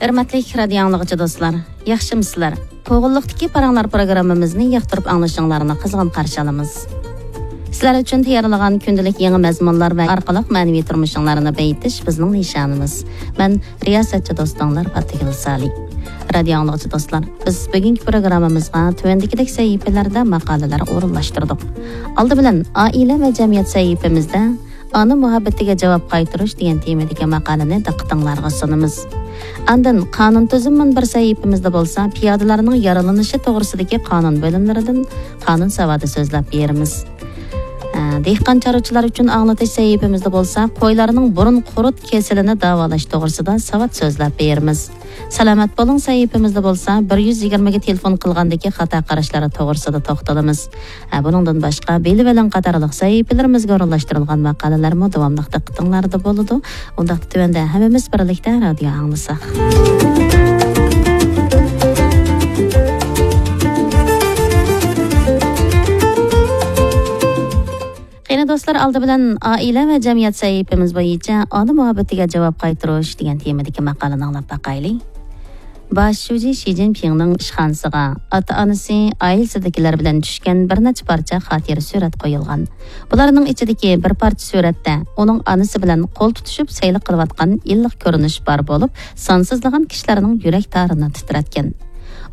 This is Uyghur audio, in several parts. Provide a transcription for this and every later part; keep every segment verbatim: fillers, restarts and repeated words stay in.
ھۆرمەتلىك رادىيو ئاڭلىغۇچى دوستلار، ياخشىمۇسىلەر؟ قوغۇنلۇقتىكى پاراڭلار پروگراممىمىزنى ياقتۇرۇپ ئاڭلىشىڭلارنى قىزغىن قارشى ئالىمىز. سىلەر ئۈچۈن تەييارلىغان كۈندىلىك يېڭى مەزمۇنلار ۋە ئارقىلىق مەنىۋى تۇرمۇشۇڭلارنى بېيىتىش بىزنىڭ نىشانىمىز. مەن رىياسەتچى دوستۇڭلار پاتىگۈل سالى. رادىيو ئاڭلىغۇچى دوستلار، بىز بۈگۈنكى پروگراممىمىزغا تۆۋەندىكىدەك سەھىپىلەردە ماقالىلەر ئورۇنلاشتۇردۇق. ئالدى بىلەن ئائىلە ۋە جەمئىيەت سەھىپىمىزدە ئانا مۇھەببىتىگە جاۋاب قايتۇرۇش دېگەن تېمىدىكى ماقالىنى دىققىتىڭلارغا سۇنىمىز. ئاندىن قانۇن تۈزۈم مۇنبىرى سەھىپىمىزدە بولسا پىيادىلەرنىڭ يارىلىنىشى توغرىسىدىكى قانۇن بۆلۈملىرىدىن قانۇن ساۋاتى سۆزلەپ بېرىمىز. ئە، دېھقان چارۋىچىلار ئۈچۈن ئاڭلىتىش سەھىپىمىزدە بولسا قويلارنىڭ بۇرۇن قۇرت كېسىلىنى داۋالاش توغرىسىدا ساۋات سۆزلەپ بېرىمىز. سالامەت بولۇڭ سەھىپىمىزدە بولسا بىر يۈز يىگىرمىگە تېلېفون قىلغاندىكى خاتا قاراشلار توغرىسىدا توختىلىمىز. ھە، بۇنىڭدىن باشقا بىلىۋېلىڭ قاتارلىق سەھىپىلىرىمىزگە ئورۇنلاشتۇرۇلغان ماقالىلەرمۇ داۋاملىق دىققىتىڭلاردا بولىدۇ. ئۇنداقتا تۆۋەندە ھەممىمىز بىرلىكتە رادىيو ئاڭلىساق. قېنى دوستلار، ئالدى بىلەن ئائىلە ۋە جەمئىيەت سەھىپىمىز بويىچە ئانا مۇھەببىتىگە جاۋاب قايتۇرۇش دېگەن تېمىدىكى ماقالىنى ئاڭلاپ باقايلى. باش شۇجى شى جىنپىڭنىڭ ئىشخانىسىغا ئاتا-ئانىسى ئائىلىسىدىكىلەر بىلەن چۈشكەن بىر نەچچە پارچە خاتىرە سۈرەت قويۇلغان. بۇلارنىڭ ئىچىدىكى بىر پارچە سۈرەتتە ئۇنىڭ ئانىسى بىلەن قول تۇتۇشۇپ سەيلە قىلىۋاتقان ئىللىق كۆرۈنۈش بار بولۇپ، سانسىزلىغان كىشىلەرنىڭ يۈرەك تارىنى تىترەتكەن.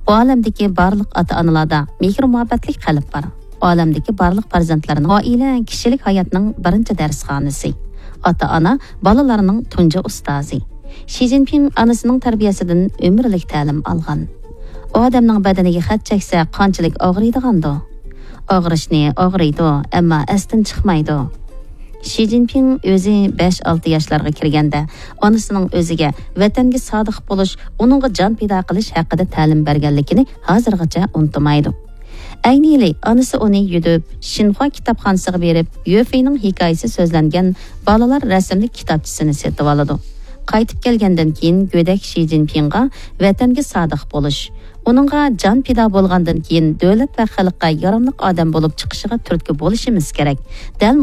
ئۇ ئالەمدىكى بارلىق ئاتا-ئانىلاردا مېھىر-مۇھەببەتلىك قەلب بار. ئۇ ئالەمدىكى بارلىق پەرزەنتلەرنىڭ ئائىلە كىشىلىك ھاياتنىڭ بىرىنچى دەرسخانىسى. ئاتا-ئانا بالىلارنىڭ تۇنجى ئۇستازى. شى جىنپىڭ ئانىسىنىڭ تەربىيەسىدىن ئۆمۈرلۈك تەلىم ئالغان. ئۇ ئادەمنىڭ بەدىنىگە خەت چەكسە قانچىلىك ئاغرىيدىغاندۇ؟ ئاغرىشنى ئاغرىيدۇ، ئەمما ئەستىن چىقمايدۇ. شى جىنپىڭ ئۆزى بەش-ئالتە ياشلارغا كىرگەندە ئانىسىنىڭ ئۆزىگە ۋەتەنگە سادىق بولۇش، ئۇنىڭغا جان پىدا قىلىش ھەققىدە تەلىم بەرگەنلىكىنى ھازىرغىچە ئۇنتۇمايدۇ. ئەينى يىلى ئانىسى ئۇنى يۈدۈپ، شىنخۇا كىتابخانىسىغا بېرىپ، يۆفېينىڭ ھېكايىسى سۆزلەنگەن بالىلار رەسىملىك كىتابچىسىنى سېتىۋالىدۇ. قايتىپ كەلگەندىن كېيىن گۆدەك شى جىنپىڭغا ۋەتەنگە سادىق بولۇش، ئۇنىڭغا جان پىدا بولغاندىن كېيىن دۆلەت ۋە خەلققە ياراملىق ئادەم بولۇپ چىقىشىغا تۈرتكە بولۇشىمىز كېرەك. دەل